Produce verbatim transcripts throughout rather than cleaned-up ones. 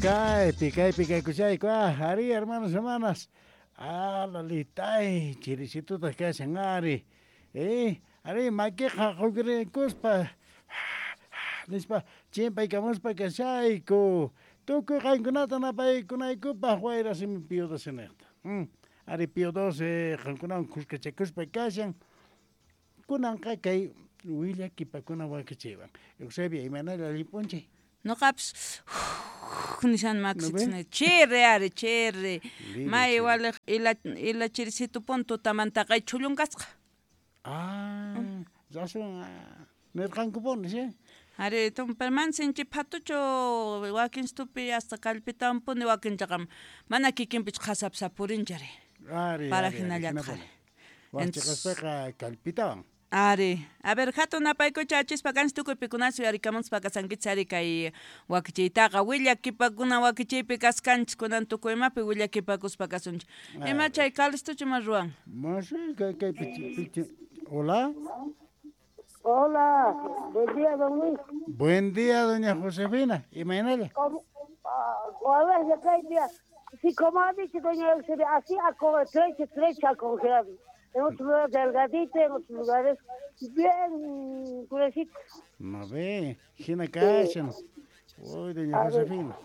Kaypi, kaypi kaykuchayku, ah, ari, hermanos, hermanas. Ah, lalitay, chirisitutaq kashan, ari. Eh, ari, makiqa qukrikuspa, nispa, chimpaykamuspa kashayku. Tukuy qankunata napaykunaykupaq wayra simi Pío doce niqta. Mm. Ari Pío doce qankunawan kuskachakuspa kashan. Kunanqa kay willakipakuna wakichiywan. Eusebia, imaynalla allin p'unchay? Noqapis nishan maksitsni chirri ari chirri may waliq ila ila chirisitupun tutamantaqa chhullunkasqa. Ah, razón, nirqankupuni, sí? Ari tumpa man sinchi phatuchu wakinstupi hasta kallpitampuni wakinchaqam mana kikinpichu qhasapi sapurinchari. Ari, Para ari, ari, hinallataq. hinapuni. Waqchiqaspaqa kallpitawan. Ari, a ver, hatun napaykucha achispa kanchis tukuy pikunachu yuyarikamunchis kasankichis ari kay wakichiytaqa willakipakuna wakichiypi kaskanchis kunan tukuy imapi willakipakuspa kasunchik. Ima chay Calistuchu ima ruwan? Masi kay kay pichi pichi. Hola. Hola, buen día, don Luis. Buen día, doña Josefina. Imaynalla? ¿Cómo? Ah, a ver, acá hay día. Sí, como ha dicho doña Eusebia, así a co- trecha, trecha congelado. En otros lugares delgadito, en otros lugares bien gruesito. No ve, hina kashan. Uy, doña A ver. Josefina.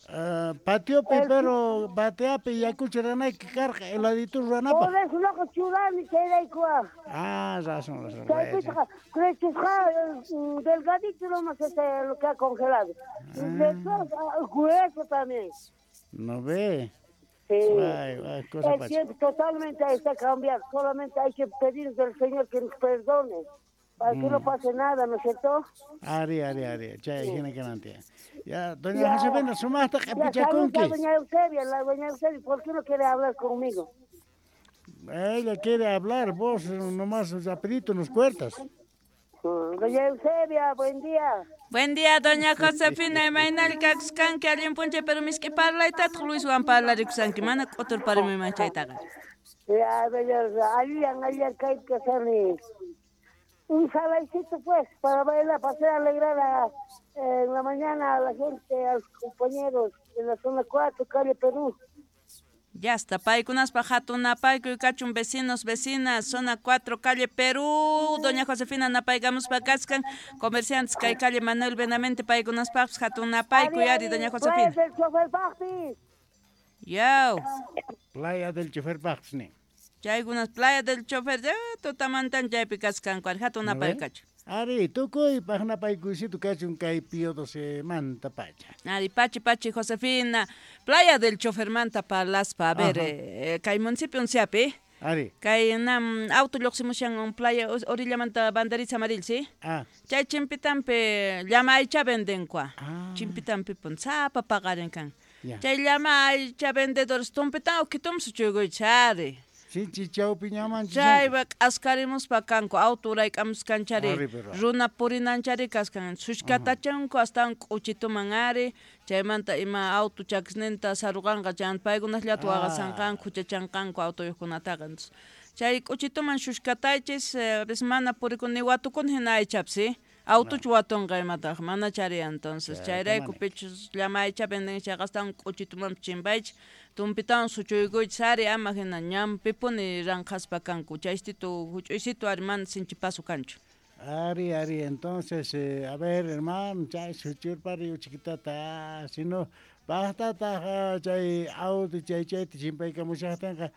Ah, patiopi, El- pero bateapi yakucha ranayki karqa heladito ruwanapaq. Por eso loco churani chayrayku. Ah, razón, razón. Chaypiqa crechusqa delgadito nomás es lo que ha congelado. Después, ah, grueso también. No ve. Sí. Ay, ay, cosa El pacha. tiempo totalmente está cambiado. Solamente hay que pedir del Señor que nos perdone. Para que no pase nada, ¿no es cierto? Ari, ari, ari. Chay, hina kanantia. Ya, doña Ya. Josefina, sumaqta Ya saluda a q'ipichakunki. doña Eusebia, la doña Eusebia, ¿por qué no quiere hablar conmigo? Ella quiere hablar, vos nomás rapidito nos cuentas. Mm, Doña Eusebia, buen día. Buen día, doña Josefina, imaynalla kakuskanki allin p'unchay, pero misk'i parlaytataq Luiswan parlarikusanki, mana k'uturparimiman chaytaqa. Ya, doña, allan, allan, kay kasani. Un salaycito, pues, para bailar, para hacer alegrar a, eh, en la mañana a la gente, a los compañeros en la zona cuatro, calle Perú. Ya está, paykunaspaq hatun napaykuy kachun vecinos, vecinas, zona cuatro, calle Perú, doña Josefina napaykamuspa kaskan, comerciantes kay calle Manuel Benavente paykunaspaqpis hatun napaykuy ari, doña Josefina. Playa del chofer Bajpi. Yaw. Playa del chofer Bajpis nin. Chaykunas playa del chofer, ya, tutamantan chaypi kaskanku, ari hatun ¿No napaykuy ve? kachun. Ari, tukuypaq napaykuysitu kachun kay Pío doce manta pacha. Ari, pachi, pachi, Josefina, playa del chofer manta parlaspa, a ver, Ajá. eh, kay municipio unciapi. Ari. Kay nam auto lluqsimushan un playa orillamanta banderita amaril, ¿sí? Ah. Chay chimpitampi llama aycha vendenkua. Ah. Chimpitampi pun sapa paqarin kan. Ya. Chay llama aycha vendedores tumpitan ukitum suchuykuy chari. Sinchi chawpi ñaman Chaypa k'askarimuspa kanku auto urayk'amuskanchari Ari, pero. runa purinanchari kaskan sushkatachanku astawan k'uchituman ari chaymanta ima auto chakisninta saruqanqa chan paykunasllata Ah. waqasanqanku huchachanqanku autoyuqkunataqa. Entonces, chay k'uchituman shushkataychis, eh, a veces mana purikun ni watukun hina aychapis, ¿sí? Autochu watunqa imataq mana chari entonces Chayta chayrayku mana. pichus llama aycha venden chayqa astawan k'uchitumanpis chimpaychis tumpitawan suchuykuychis ari ama hina ñanpipuni ranqhaspa kanku chaystitu huch'uysitu ari mana sinchi paso kanchu. Ari, ari, entonces, eh, a ver, hermano, chay suchurpari uchikitata, si no, paqtataq chay auto chay chayta chimpaykamushaqtinqa,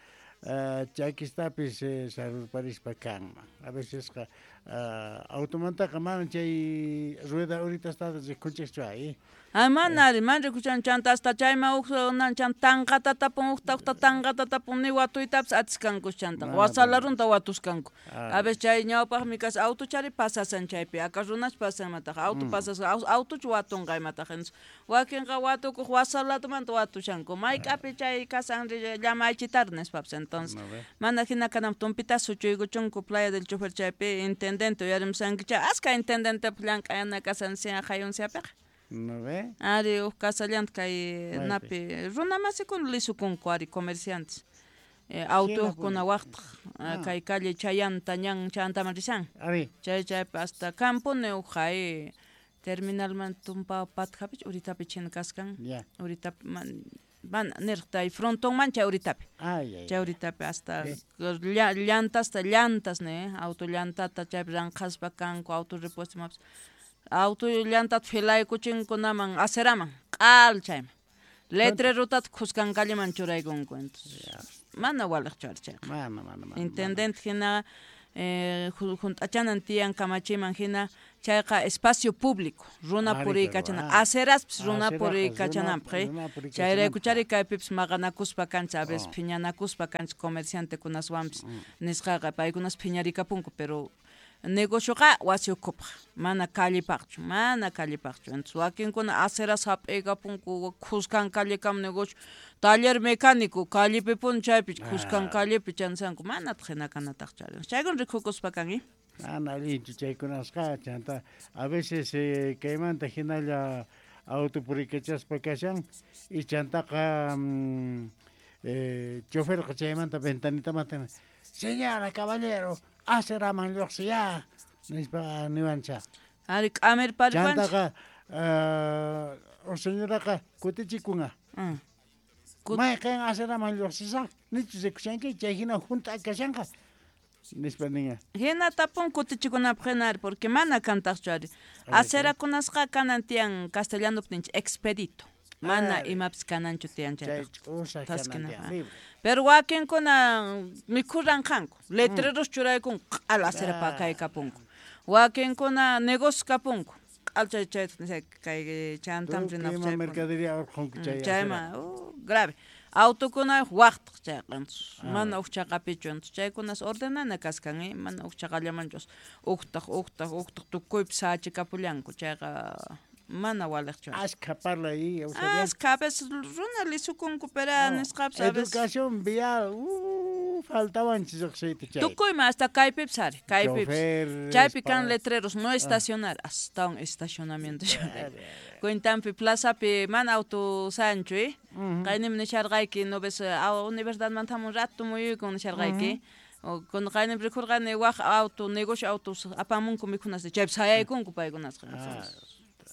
ah, chakistapis eh, sarurparispa kanman. A vecesqa ah, automantaqa mana chay rueda uritastada rikunchikchu ahí. Ay, mana ari, mana rikuchan chanta hasta chayman huk nan chan tanqata tapun hukta hukta tanqata tapun ni watuytapis atiskankus chantaqa Mana wasalarunta watuskanku. Ah. A veces chay ñawpaqmi kas auto chari pasasan chaypi aka runas pasan imataq auto pasasan autochu watunqa imataq entonces wakinqa watukuq wasalatumanta watushanku mayk'api chay kasan llama aychitar nispapis entonces No ve. mana hina kanam tumpita suchuykuchunku playa del chofer chaypi intendente uyarimusankicha aska intendentepaq llank'ayana kasan sian hayunsiapiqa. ¿No ve? Ari huk kasallanta kay Maypi? napi runa masikuna lisukunku ari comerciantes. Eh, autokuna waqtaq Ah. kay calle Chayanta ñan Chayantaman rishan. Ari. Chay chaypi hasta kampuni huk hay Terminalman tumpa patjapich uritapi chin kaskan. Ya. Uritapi man man nirqtay frontonman chay uritapi. Ay, ay. Chay uritapi hasta llantasta llantas ne, auto llantata chaypi ranqhaspa kanku auto repuesto mapas. Auto llantata filaykuchinkunaman aceraman q'al chayman. Letrerotata khuskan calleman churaykunku entonces. Mana waliqchu ari chayqa. Mana, mana, mana. Intendente hina eh, junt'achanan tiyan kamachiman hina chayqa espacio público runa puriykachana aceraspis runa puriykachananpaq chayraykuchari kaypipis maqanakuspa kanchis a veces phiñanakuspa kanchis comerciantekunaswanpis nisqaqa paykunas phiñarikapunku pero negocioqa wasi ukhupaq mana callepaqchu mana callepaqchu entonces wakinkuna aceras hap'iykapunku khuskan callekama negocio taller mecánico callepipuni chaypi khuskan callepi chansanku manataq hina kanataqchu ari chaykuna rikukuspa kan eh Mana allinchu chaykunasqa chanta a veces eh, kaymanta hinalla auto puriykachaspa kashan y chantaqa mm, eh, choferqa chaymanta ventanitamanta señora caballero aceraman lluqsiya nispa niwancha ari k'amirpariwanchik chantaqa uh, o señoraqa kutichikunqa mm. mayqin aceraman lluqsisaq nichu rikushanki chay hina hunt'a kashanqa nispa ninqa hina tapun kutichikunapaq hina ari porque mana kantaqchu ari acerakunasqa kanan tiyan castellanopi ninchik expedito mana imapis kananchu tiyan chaypaq chayqa pero wakinkuna mikhuranqanku letreros churaykunku q'al acera pakaykapunku wakinkuna negocio kapunku q'al chay chay kay chantam rinapaq chay mercadería urqhunku chay chayma grave autokuna waqtaq chayqa mana huk chaqapichu entonces chaykunas ordenana kaskan eh mana huk chaqallamanchu uktaq uktaq uktaq tukuypi sachikapullanku chayqa mana waliqchu askha parlay askha a veces runa lisukunku pero nisqapis a veces educación vial uh, faltawanchis riqsiyta chay tukuyman hasta kaypipis ari kaypipis chaypi kan letreros no estacionar hasta un estacionamiento cuentanpi plazapi mana auto sanchu eh qaynimi nisharqayki no ves universidadmanta hamun rato muyuykun nisharqayki o cuando qaynimi rikurqani waq auto negocio autos apamunku mikhunasta chaypi sayaykunku paykunasqa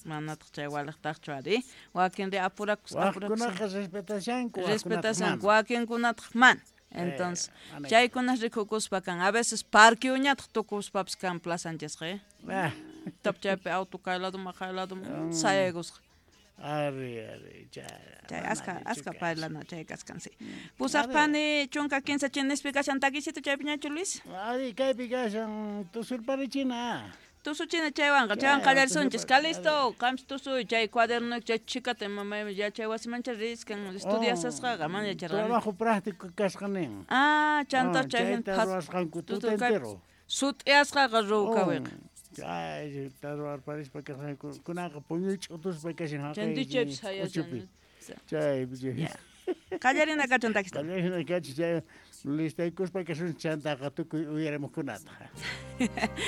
manataq chay waliqtaqchu ari wakinri apurakus apurakus waqkunaqa respetashanku respetashanku wakinkunataq mana entonces chaykunas rikukuspa kan a veces parqueoñataq tukuspapis kan plazanchisqa eh tap chaypi auto kay ladoman kay ladoman sayaykusqa ari ari chay chay aska aska parlana chay kaskan sí pusaqpani chunka kinsa chinispi kashan takisito chaypiñachu Luis ari kaypi kashan tusurparichina tusuchina chaywanqa chaywan qallarisunchis Calisto qampis tusuy chay cuaderno chay chikata mamay yachay wasimancha riskan estudiasasqaqa mana yacharqani trabajo práctico kasqa nin ah chanta chay ruwasqanku tuta entero sut'iyasqaqa ruwkawiqa chay ruwarparispa kasqanku kunaqa puñuy ch'utuspa kashan haqay chantichaypis hayashan chay qallarina kachun takista qallarina kachun chay listaykuspa kasun chantaqa tukuy uyarimuqkunata.